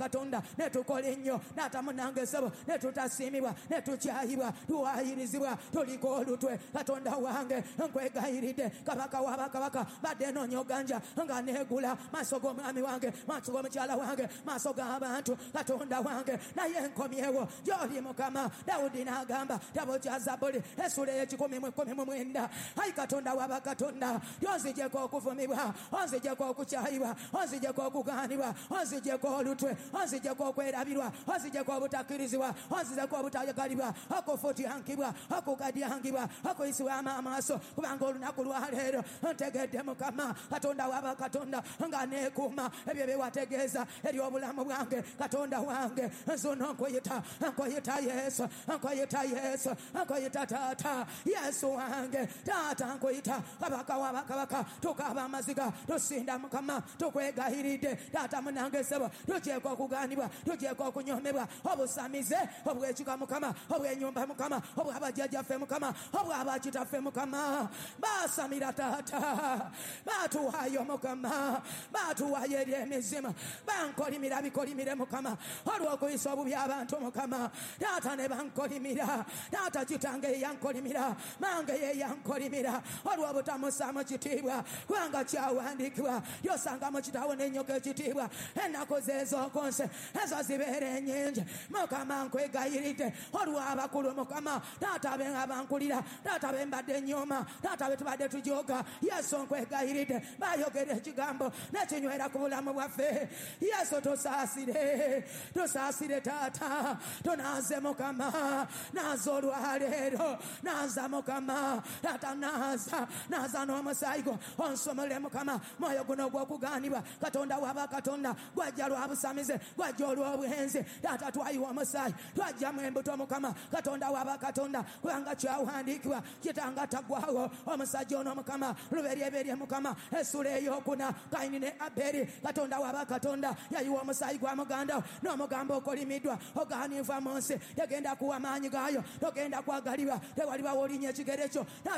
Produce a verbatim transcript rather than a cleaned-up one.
Katonda ne tukola ennyo n'atamunange ssebo ne tutasiimibwa ne tukyayibwa tuwayirizibwa tuliko olutwe. Katonda wange nkwegayiridde, kabaka w'abakabaka, badde noonya oganja nga neegula maaso g'omwami wange, maaso g'omukyala wange, maaso g'abantu. Katonda wange naye nkomyewo gy'oli Mukama. Dawudi n'agamba kitabo kya Zabbuli essula ey'ekikumi mu ekkumi mu mwenda, ayi Katonda w'abakatonda, onzigyeko okuvumibwa, onzigyeko okukyayibwa, onzigyeko okugaanibwa, onzigyeko olutwe, onzigyeko okwerabirwa, onzigyeko obutakkirizibwa, onzigyeko obutayagalibwa, okufutyankibwa, okugadyangibwa, okuyisibwa amaaso, kubanga olunaku lwaleero ntegedde Mukama Katonda w'abakatonda nga neekuuma ebyo bye wategeeza eri obulamu bwange. Katonda wange nzuno nkuyita, nkuyita Yesu, nkuyita Yesu, nkuyita Taata Yesu wange, Taata nkuyita kabaka w'abakabaka. Tukaaba amaziga, tusinda Mukama, tukwegayiridde Taata munange ssebo, tugyeko okugaanibwa, tugyeko okunyomebwa, obusamize obw'ekika Mukama, obw'ennyumba Mukama, obw'abajjajjaffe Mukama, obw'abakitaffe Mukama. Baasamira Taata, baatuwaayo Mukama, baatuwaayo eri emizimu, bankolimira bikolimire Mukama olw'okuyisa obubi abantu Mukama. Taata ne bankolimira, Taata kitange ye yankolimira, mange ye yankolimira olw'obutamussaamu kitiibwa, kubanga kyawandiikibwa lyosanga mu kitabo n'ennyoko ekitiibwa, ennaku ze ez'oku nsi ezo zibeera ennyingi. Mukama nkwegayiridde olw'abakulu Mukama, Taata be abankulira, Taata be mbadde ennyuma, Taata be tubadde tujooga. Yesu nkwegayiridde, bayogera ekigambo nekinywera ku bulamu bwaffe. Yesu tusaasire, tusaasire Taata, tunaaze Mukama, naaza olwaleero, naaza Mukama Taata, naaza, naaza n'omusaayi gwo onsomole Mukama. Mwoyo guno ogw'okugaanibwa Katonda w'abakatonda gwajja lwa busamize, gwajja olw'obwenzi. Taata twayiwa omusaayi, twajjamu embuto Mukama Katonda w'abakatonda, kubanga kyawandiikibwa kitanga taggwawo. Omusajja ono Mukama luberyeberye Mukama essula ey'okuna, Kayini ne Aberi, Katonda w'abakatonda yayiwa omusaayi gwa muganda wo n'omugamba okolimiddwa, ogaanibwa mu nsi, tegenda kuwa maanyi gaayo, togenda kwagalibwa, tewalibawo olinnya ekigere kyo.